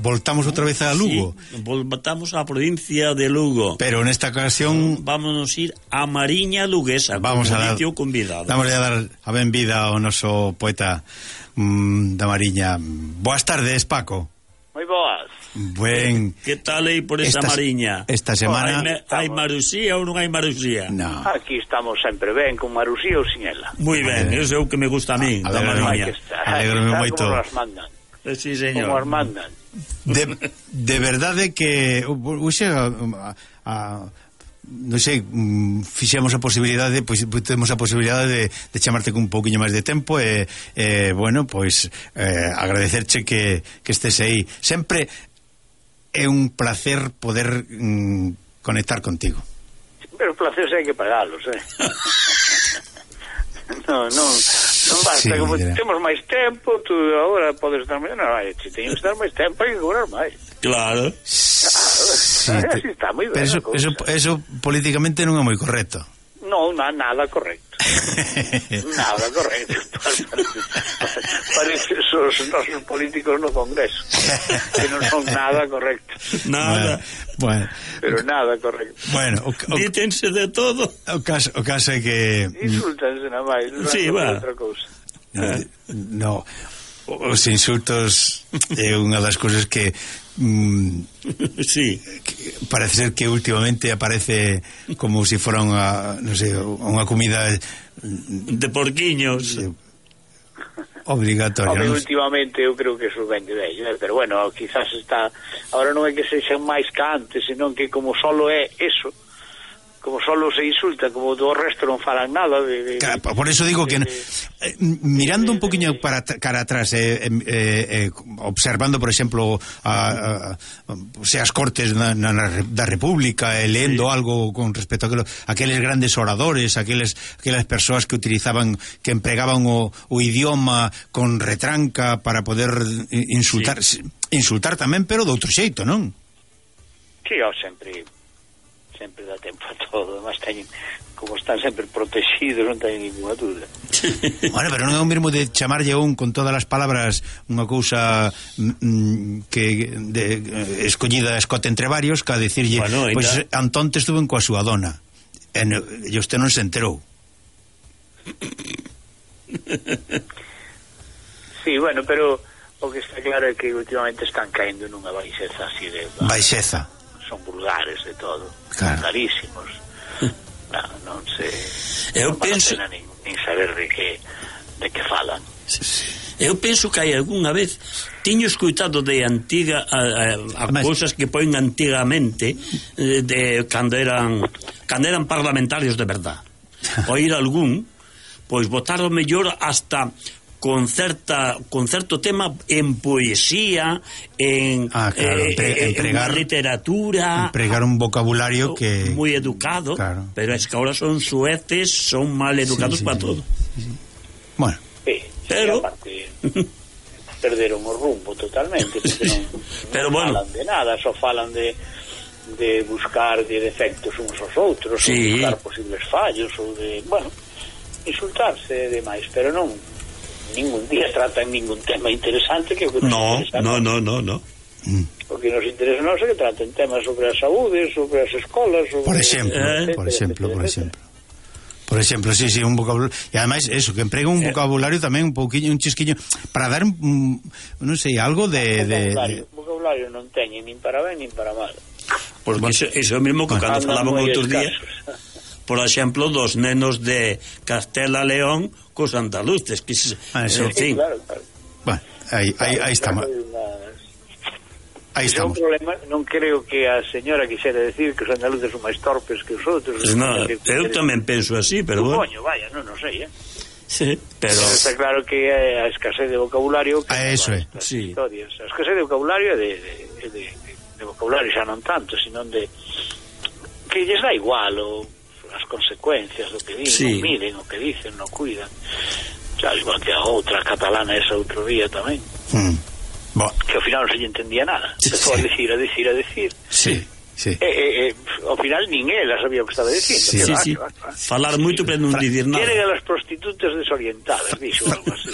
voltamos outra vez a Lugo. Sí, voltamos á provincia de Lugo. Pero nesta ocasión vámonos ir a Mariña Luguesa. Vamos a dar, convidado. Vamos a dar a benvida ao noso poeta da Mariña. Boas tardes, Paco. Moi boas. Buen. Que tal aí por esa Mariña? Esta semana hai marusía ou non hai marusía? No. Aquí estamos sempre ben, con marusía ou sin ela. Moi ben, eso é o que me gusta a mí, da Mariña. Alegrome moito. Como as mandan. Sí, señor. Como as mandan. De verdade que non sei, fixemos a posibilidade, pois temos a posibilidade de chamarte con un pouquiño máis de tempo e bueno, pois agradecerche que estés aí. Sempre é un placer poder conectar contigo. Pero os placeres hai que pagalos, non basta, sí, como temos máis tempo, tú agora podes estar máis, non, se teño que estar máis tempo hai que cobrar máis. Claro. Sí, está moi ben. Pero eso políticamente non é moi correcto. Non, nada correcto. Nada correcto. Parece os nosos políticos no Congreso, que non son nada correcto. Nada. Bueno. Pero nada correcto. Bueno, dítense de todo. O caso é que insultanse na máis, sí, va. Outra cousa. No, os insultos é unha das cousas que sí, parece ser que últimamente aparece como se fora unha, non sei, unha comida de porquiños obligatoria. Hombre, últimamente eu creo que eso vende bello, pero bueno, quizás está ahora non é que sexan máis que antes, senón que como solo é eso, como solo se insulta, como do resto non falan nada claro, por eso digo que mirando un poquinho para cara atrás observando, por exemplo se as cortes da República lendo algo con respecto a aqueles grandes oradores, aquelas persoas que utilizaban, que empregaban o idioma con retranca para poder insultar tamén, pero de outro xeito, non? Sí, sempre dá tempo a todo, además teñen, como están sempre protegidos, non teñen ninguna dúda. Bueno, pero non é o mesmo de chamarlle con todas as palabras unha cousa escollida a escote entre varios, que a dicirlle, bueno, pois Antón te estuvo coa súa dona e usted non se enterou. Sí, bueno, pero o que está claro é que últimamente están caendo nunha baixeza así de... Baixeza. Son vulgares de todo, claro. Carísimos. Non sei. Eu penso nin saber de que falan. Eu penso que hai algunha vez tiño escuitado de antiga a cousas que poen antigamente de cando eran parlamentarios de verdad. Oír algún, pois votar o mellor hasta con certo tema en poesía, en literatura, empregar un vocabulario que moi educado, claro. Pero es que ahora son sueces, son mal educados para todo. Sí. Bueno, pero aparte perderon o rumbo totalmente, porque non bueno, falan de nada, só falan de buscar de defectos uns aos outros, sí. Ou buscar posibles fallos, ou de, bueno, insultarse demais, pero non ningún día tratan ningún tema interesante que no. O que nos interesa non é que traten temas sobre a saúde, sobre as escolas, sobre... Por exemplo, sí, un vocabulario, e ademais eso, que emprega un vocabulario tamén un pouquiño, un chisquiño para dar non sei, algo de vocabulario non teñen nin para ben nin para mal. Porque bueno, eso é o mesmo que cando falaban outros días, por exemplo, dos nenos de Castela León cos andaluces, que en fin. Claro. Bueno, aí estamos. Aí estamos. É un problema, non creo que a señora quixera decir que os andaluces son máis torpes que os outros. No, eu tamén penso así, pero bueno. Coño, vaya, non sei, Sí, pero está claro que a escasez de vocabulario que eso é. Sí. A escasez de vocabulario de vocabulario xa non tanto, sino de que lles dá igual as consecuencias do que din, sí. Non miren o que dicen, non cuidan. Xa, igual que a outra catalana esa outro día tamén. Que ao final non se lle entendía nada. Empezou a decir. Sí. ao final nin ela sabía o que estaba dicindo. Falar moito para non dicir nada. Queren a las prostitutas desorientadas, dixo algo así.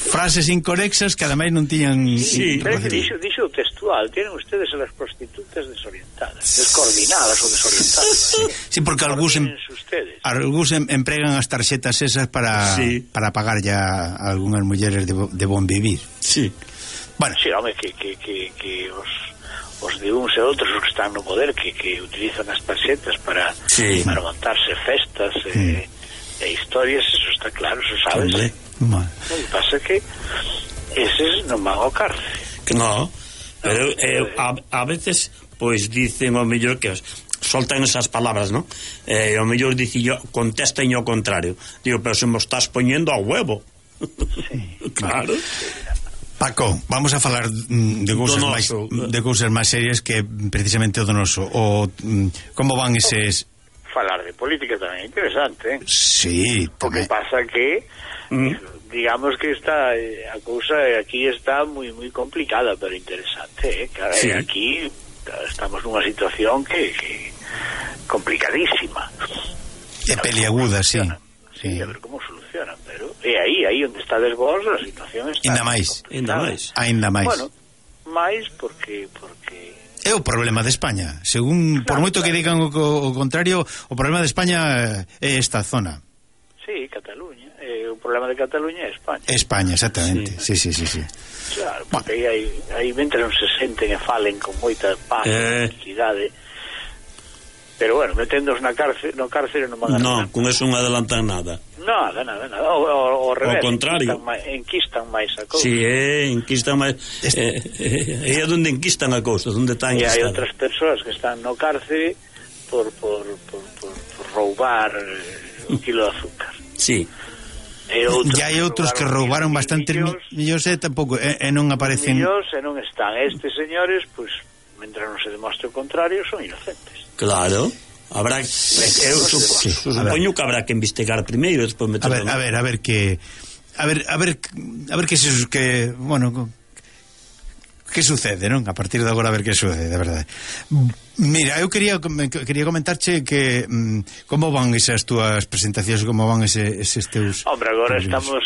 Frases incorrectas que ademais non tiñan... Dixo textual, tienen ustedes a las prostitutas desorientadas, descoordinadas ou desorientadas. Sí, porque algúns empregan as tarxetas esas para pagar ya a algunhas mulleres de bon vivir. Sí. Bueno, sí, home, que os de uns e outros os que están no poder que utilizan as tarxetas para montarse festas e historias, eso está claro, eso sabes. O que pasa é que eses non van ao cárcel. No, pero a veces pois dicen ao mellor que soltan esas palabras, ¿no? Ao mellor dicillo contestan ao contrario. Digo, pero se mo estás poñendo a huevo. Claro. Paco, vamos a falar de cousas máis serias que precisamente o donoso. Como van eses... Falar de política tamén é interesante, Sí, o que pasa que digamos que está a cousa aquí está moi complicada, pero interesante, claro, aquí estamos nunha situación que complicadísima. É peliaguda, sí. Sí, a ver como solucionan, pero é aí onde está vos, a situación está Ainda máis. Bueno, máis porque é o problema de España. Según por moito que digan o contrario, o problema de España é esta zona. Sí, Cataluña. O problema de Cataluña é España. España, exactamente. Sí. Claro, porque aí mentre non se senten e falen con moita paz e tranquilidade. Pero bueno, meténdoos no cárcere non van a... Non, con eso non adelantan nada. Nada. O revés. Ao contrario. Enquistan máis a cousa. Sí, enquistan máis... É onde enquistan a cousa, onde está enquistada. E hai outras persoas que están no cárcere por roubar un kilo de azúcar. Sí. E hai outros que roubaron bastantes millóns e tampouco, e non aparecen... Millóns e non están. Estes señores, pois, mentre non se demostre o contrario, son inocentes. Claro, habrá supoño que habrá que investigar primeiro, despois meterlo. A ver que bueno, que sucede, non? A partir de agora a ver que sucede, de verdade. Mira, eu quería comentarche que como van esas túas presentacións, como van eses teus... Hombre, agora estamos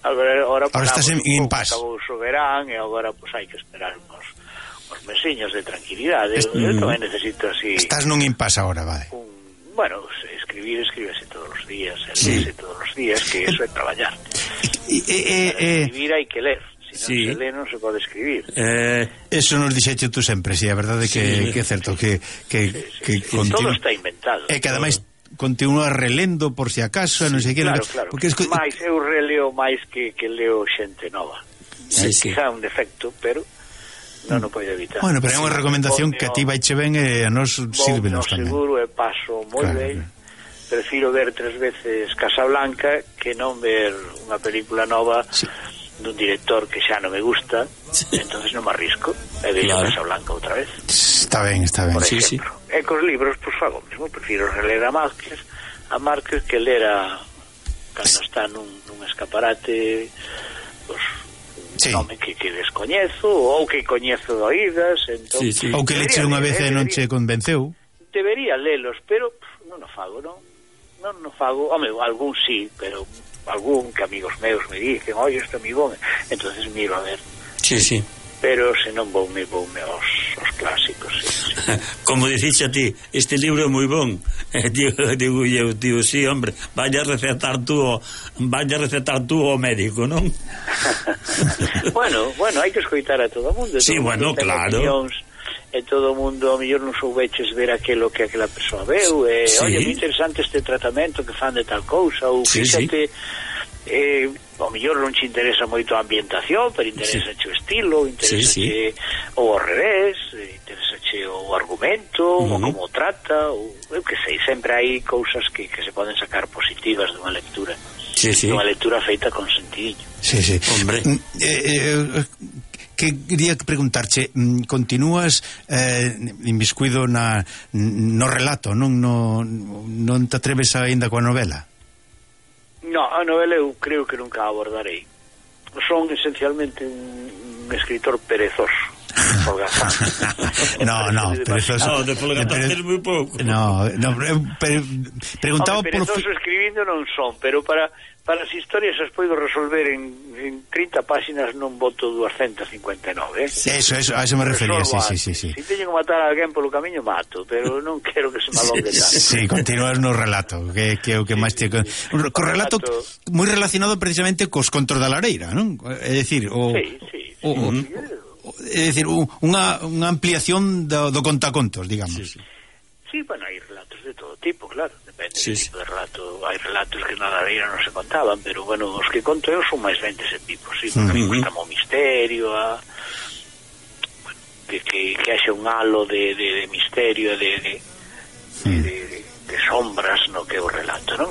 agora estás en impasse. Acabou o verán e agora pois hai que esperar uns mesiños de tranquilidade. Eu tamén necesito así... Estás nun impasse agora, vale. Bueno, escribirse todos os días, leerse todos os días, que eso é traballar. Escribir hai que ler. Se non se lee non se pode escribir. Eso nos dixeche tú sempre, a verdade que é certo que todo está inventado. E que ademais continúa relendo por si acaso, non sei que... Claro. Porque máis eu releo máis que leo xente nova. Quizá un defecto, pero non o podo evitar. Bueno, pero é unha recomendación que a ti vaiche ben e a nos sírvenos tamén. Seguro e paso moi ben. Prefiro ver 3 veces Casablanca que non ver unha película nova dun director que xa non me gusta, entonces non me arrisco e vejo Casablanca outra vez. Está ben. Por exemplo. E cos libros, pois fago mesmo, prefiro reler a Márquez que ler cando está nun escaparate, pois nome que descoñezo ou que coñezo de oídas, entón ou que leche unha vez e non che convenceu. Debería lelos, pero non o fago, non o fago. Home, algún sí, pero algún que amigos meus me dicen, oi, este amigo, entonces miro a ver. Sí. Pero se non voume aos clásicos. Como dicixe a ti, este libro é moi bon. Digo eu, sí, hombre, vaya a recetar tú ao médico, non? Bueno, hai que escoitar a todo o mundo. Sí, bueno, claro. E todo o mundo, ao mellor non soubeches ver aquilo que aquela persoa veu, oye, moi interesante este tratamento que fan de tal cousa, ou fíxate, ao mellor non te interesa moito a ambientación, pero interesa o estilo, interesa ou ao revés, interesa o argumento, ou como trata, ou eu que sei, sempre hai cousas que se poden sacar positivas dunha lectura. Unha lectura feita con sentidiño. Sí. Hombre. Que quería preguntarche, continúas inmiscuido no relato, non te atreves aínda coa novela? No, a novela eu creo que nunca a abordarei. Son esencialmente un escritor perezoso. de folgazán es moi pouco. Preguntaba por escribindo non son, pero para as historias as podo resolver en 30 páxinas non boto 259, Eso, a eso me refería, sí. Se teño que matar a alguén polo camiño, mato, pero non quero que se me alongue tanto. Sí, continúas no relato, que é o que máis te... Co relato moi relacionado precisamente cos contos da lareira, non? É dicir, é dicir, unha ampliación do contacontos, digamos. Sí, bueno, hai relatos de todo tipo, claro, depende do tipo de relato. Hai relatos que na lareira non se contaban, pero, bueno, os que conto eu son máis ben dese tipo, sí, porque a mí gusta o misterio, bueno, que haxe un halo de misterio, de sombras no que é o relato, non?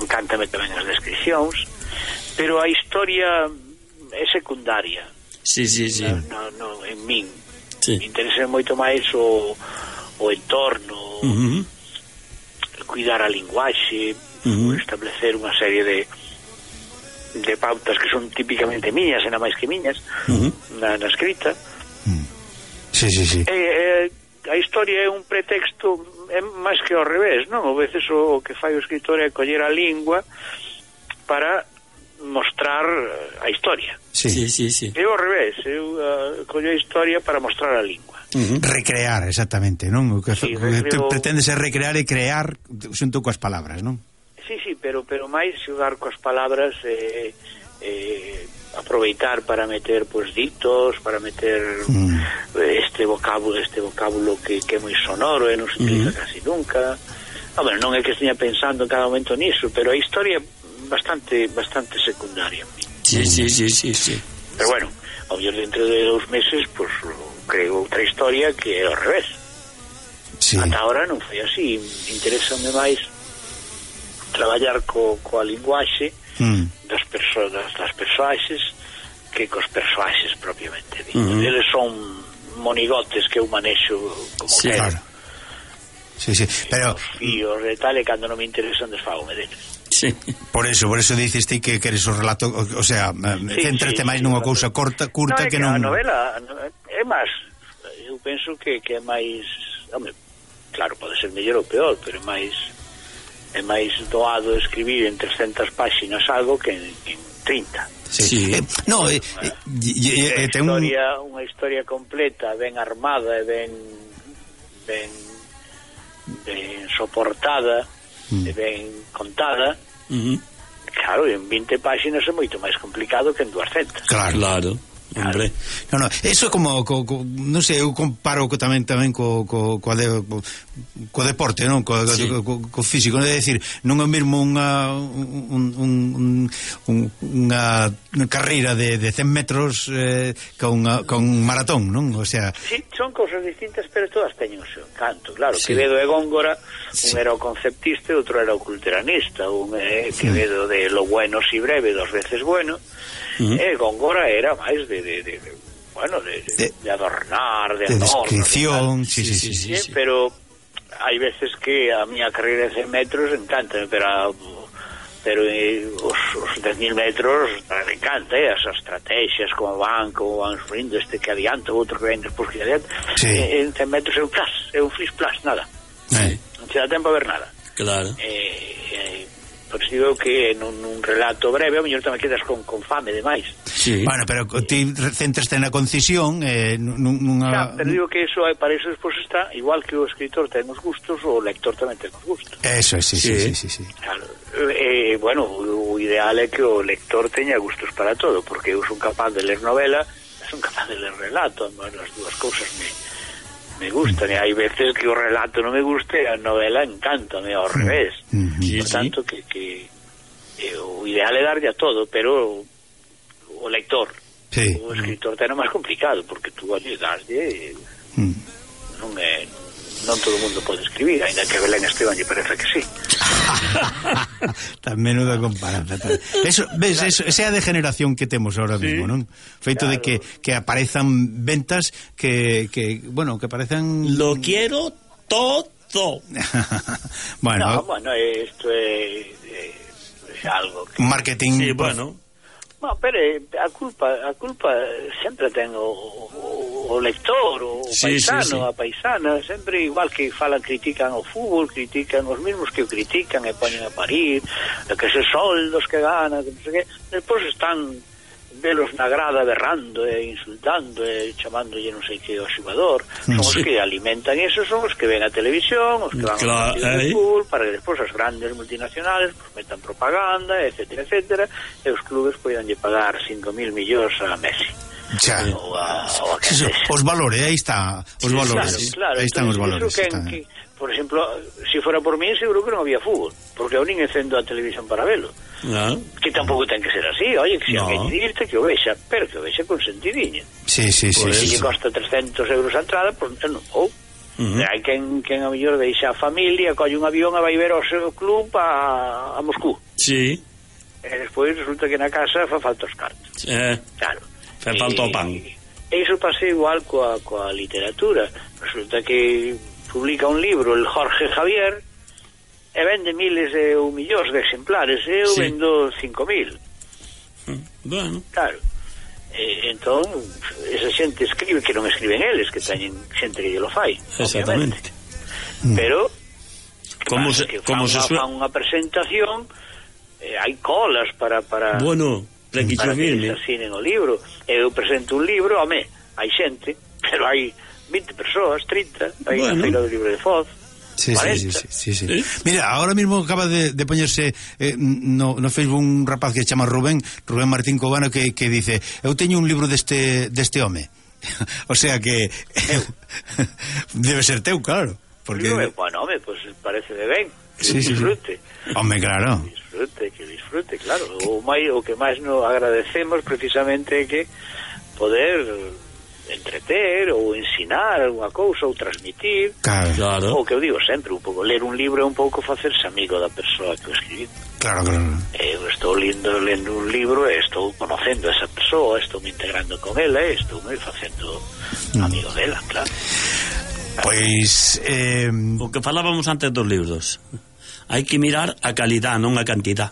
Cántame tamén as descripcións, pero a historia é secundaria. Sí. No, en min. Me interesa moito máis o entorno, cuidar a linguaxe, establecer unha serie de pautas que son típicamente miñas, e nada máis que miñas, na escrita. Sí. A historia é un pretexto, é máis que ao revés, non? A veces o que fai o escritor é coller a lingua para mostrar a historia. Sí. Eu ao revés, eu collo a historia para mostrar a lingua. Recrear, exactamente, non? O que pretendes é recrear e crear xunto coas palabras, non? Sí, pero máis xogar coas palabras, aproveitar para meter ditos, para meter este vocábulo que é moi sonoro e non se utiliza casi nunca. Non é que esteña pensando en cada momento niso, pero a historia bastante secundaria. Sí. Pero bueno, ao mellor dentro de 2 meses creo outra historia que é ao revés. Ata ahora non foi así. Interésame máis traballar coa linguaxe das persoaxes que cos persoaxes propiamente ditos. Eles son monigotes que eu manexo como quero. Claro. Sí, pero os fíos e tal, e cando non me interesan desfágome deles. Sí. Por eso dices ti que queres o relato, o sea, céntrate máis nunha cousa curta que non... A novela é máis, eu penso que é máis, claro, pode ser mellor ou peor, pero é máis doado escribir en 300 páxinas algo que en 30. Sí. Unha historia completa, ben armada e ben soportada e ben contada, claro, en 20 páxinas é moito máis complicado que en 200. Claro. Hombre. No, eso é como non sei, eu comparo tamén co deporte, non? Co físico, non é dicir, non é mesmo unha carreira de 100 metros con maratón, non? O sea, sí, son cousas distintas, pero todas teñen o seu encanto, claro. Quevedo e Góngora, un era o conceptista e outro era o culturanista, un Quevedo de lo bueno si breve, 2 veces bueno, e Góngora era máis de adornar, de descripción, sí. Pero hai veces que a miña carreira de 100 metros encanta, pero os 10.000 metros me encanta, as estrategias, como van subindo, este que adianta, outro que ven despois que adianta. En 100 metros é un flis-plas, nada. Non se dá tempo a ver nada. Claro. Por isso digo que nun relato breve ao mellor tamén quedas con fame demais. Sí. Bueno, pero ti centraste na concisión pero digo que eso, para eso despois está, igual que o escritor ten os gustos, o lector tamén ten os gustos. Eso, sí. Claro. Bueno, o ideal é que o lector teña gustos para todo, porque eu son capaz de ler novela, son capaz de ler relato, as dúas cousas me gustan, e hai veces que o relato non me guste, a novela encántame ao revés. Por tanto, que o ideal é darlle a todo, pero o lector, o escritor ten o máis complicado, porque tú darlle non todo o mundo pode escribir, ainda que a Belén Esteban lle parece que sí. Tan menuda comparanza. Eso, ves, esa é a degeneración que temos ahora mismo, non? Feito de que aparezan ventas que aparezan... Lo quiero todo. Bueno, isto é algo que... Marketing... Sí, bueno... No, pero a culpa sempre ten o lector, o paisano, a paisana, sempre igual que critican o fútbol, critican os mesmos que o critican e poñen a parir, que se soldos que gana, que non sei que, despois están velos na grada berrando e insultando e chamándolle non sei que ao xogador. Son os que alimentan eso, son os que ven a televisión, os que van ao fútbol, para que despois as grandes multinacionales pues, metan propaganda, etcétera, etcétera, e os clubes poidanlle pagar 5.000 millóns a Messi. Ou a os valores, aí está os valores, claro, aí están os valores. Por exemplo, se fora por mí, seguro que non había fútbol, porque eu nin encendo a televisión para velo. Que tampouco ten que ser así, oye, que se alguén dirte que o vexa, pero que o vexa con sentidiño. Sí. Se lle costa 300 euros a entrada, pois non vou. Hai quen a mellor deixa a familia, colle un avión e vai ver o seu club a Moscú. Sí. E despois resulta que na casa fa falta os cartos. Claro. Fa falta o pan. E iso pasa igual coa literatura. Resulta que publica un libro el Jorge Javier e vende miles ou millóns de exemplares, e eu vendo 5.000. Bueno. Claro. Entón, esa xente escribe, que non escriben eles, que teñen xente que lle lo fai. Exactamente. Pero como se fan unha presentación, hai colas para bueno, para que se asinen o libro. Eu presento un libro, home, hai xente, pero hai 20 persoas, 30, hai unha feira do libro de Foz. Sí. Mira, ahora mismo acaba de poñerse no Facebook un rapaz que se chama Rubén Martín Cobano que dice: eu teño un libro deste home. O sea que debe ser teu, claro, porque bueno, home, pues parece de ben que disfrute. Home, claro. Que disfrute, claro. O que máis nos agradecemos precisamente é que poder entreter ou ensinar algunha cousa ou transmitir, claro. O que eu digo sempre, un pouco ler un libro é un pouco facerse amigo da persoa que o escribe. Claro. Eu estou lendo un libro e estou conocendo a esa persoa, estou me integrando con ela e estou me facendo amigo dela, claro. Pois o que falábamos antes dos libros, hai que mirar a calidad, non a cantidad.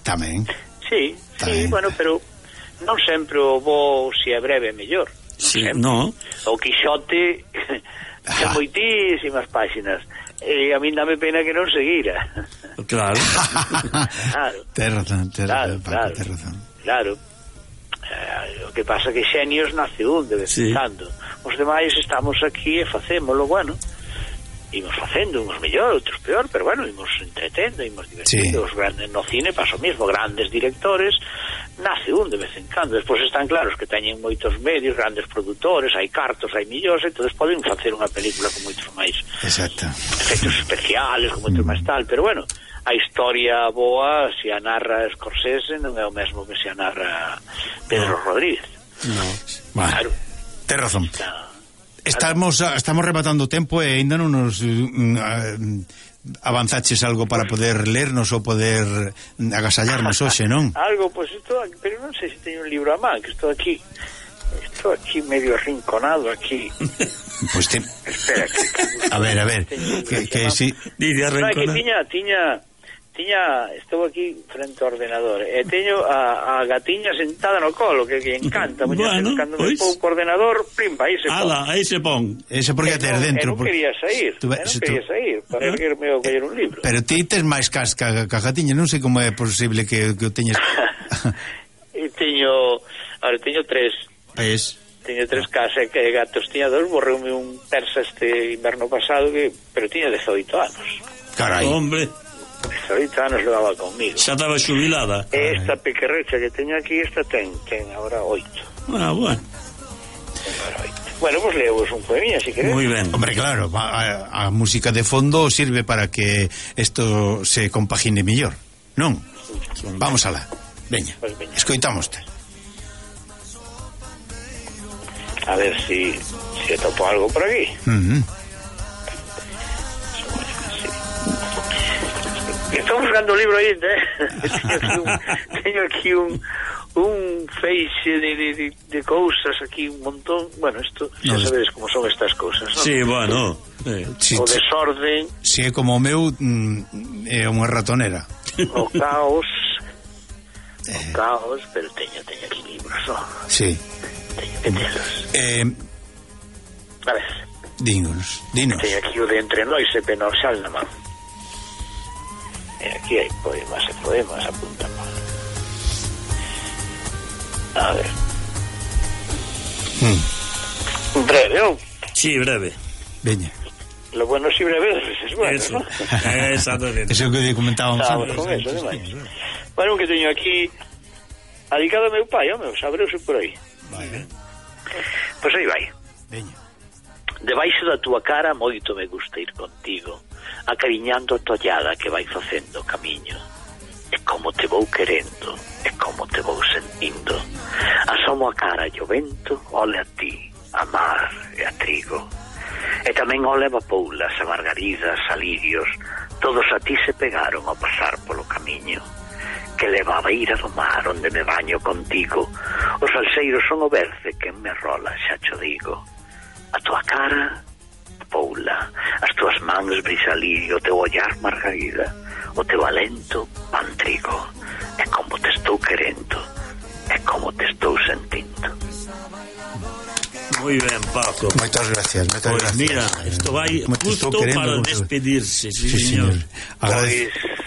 Tamén. Sí, bueno, pero non sempre o bo, se é breve, é mellor. Sí, no. O Quixote ten moitísimas páxinas e a min dame pena que non seguira. Claro. Ten razón. Claro. O que pasa que xenios nace un de vez en cando. Os demais estamos aquí e facémolo, bueno, imos facendo, uns mellor, outros peor, pero bueno, imos entretendo, imos divertindo. Os grandes no cine pasa o mesmo, grandes directores nace un de vez en cando. Despois están claros que teñen moitos medios, grandes produtores, hai cartos, hai millóns, entonces poden facer unha película con moitos máis efectos especiales, con moitos máis tal, pero bueno, a historia boa, se a narra Scorsese, non é o mesmo que se a narra Pedro Rodríguez. Claro. Ten razón. Estamos rematando o tempo e ainda non nos avanzaches algo para poder lernos ou poder agasallarnos hoxe, non? Algo, pois pero non sei se teño un libro a man, que estou aquí medio arrinconado aquí. Pois espera que a ver, que si dice arrinconado. Tiña, estou aquí frente ao ordenador e teño a gatiña sentada no colo que encanta, bueno, cando me pouco o ordenador, plimpa, aí se pon. Aí se pon. Ese porque ter dentro. Non quería sair para erguerme ou coller un libro. Pero ti tes máis casca que a gatiña, non sei como é posible que o teñes. Teño tres. Teño tres casas que gatos, tiña dos, borreume un persa este inverno pasado pero tiña 18 anos. Carai. Hombre. 18 anos levaba conmigo. Xa estaba xubilada. Esta pequerrecha que teño aquí, esta ten agora 8. Bueno. Bueno, pues leemos un poemilla, si queréis. Muy ben. Hombre, claro, a música de fondo sirve para que esto se compagine mellor, non? Vamos alá. Veña, escoitámoste. A ver si topo algo por aquí. Estou buscando un libro aí, teño aquí un feixe de cousas aquí, un montón. Bueno, isto, xa sabedes como son estas cousas, non? Sí, bueno. O desorden. Si é como o meu, é unha ratonera. O caos. un caos, pero teño aquí libros, non? Sí. Teño que telos. A ver. Dinos. Teño aquí o de Entre Nós e Penoxal na man. E aquí hai poemas, apunta mal. A ver. Breve, ou? Sí, breve. Veña. Lo bueno si breve es bueno, eso, ¿no? Exactamente. Eso que comentábamos antes. Con eso, demais. Bueno, que teño aquí adicado a meu pai, o meu, sabreuse por aí. Vale. Pois aí vai. Veña. Debaixo da túa cara moito me gusta ir contigo, acariñando a tollada que vai facendo o camiño. E como te vou querendo, e como te vou sentindo. Asomo a cara e o vento, ole a ti, a mar e a trigo. E tamén ole a papoulas, a margaridas, a lirios, todos a ti se pegaron ao pasar polo camiño. Que leva a beira do mar onde me baño contigo. Os salseiros son o berce que me rola, xa cho digo. A tua cara, papoula, as tuas mans brisalirio, o teu ollar margarida, o teu alento pan trigo. E como te estou querendo, e como te estou sentindo. Muy ben, Paco. Moitas gracias. Pues mira, isto vai justo para despedirse, sí, señor.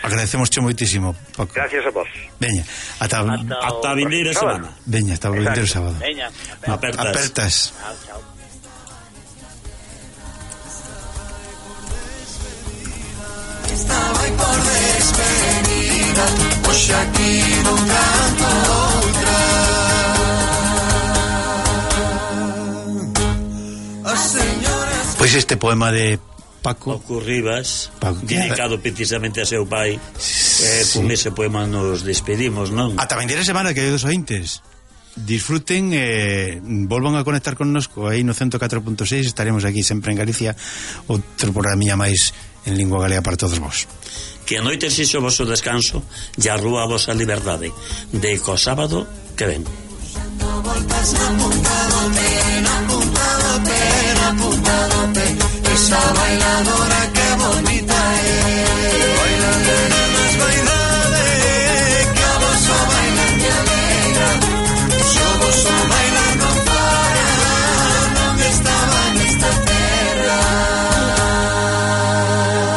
Agradecemosche moitísimo, Paco. Gracias a vos. Veña, ata a vindeira semana. Veña, ata o vindeiro sábado. Veña, apertas. Chao. Estaba aí por despedida, hoxe aquí non canto outra. Pois este poema de Paco Rivas, dedicado precisamente a seu pai, con ese poema nos despedimos, non? Ata vindeira semana, que hai dos ointes. Disfruten, volvan a conectar connosco aí no 104.6. Estaremos aquí sempre en Galicia, outro programa máis en lingua galega para todos vos. Que a noite sexo vosso descanso e a rúa a vosa liberdade de co sábado que ven. Voltas na punta do pé, esa bailadora que bonita é.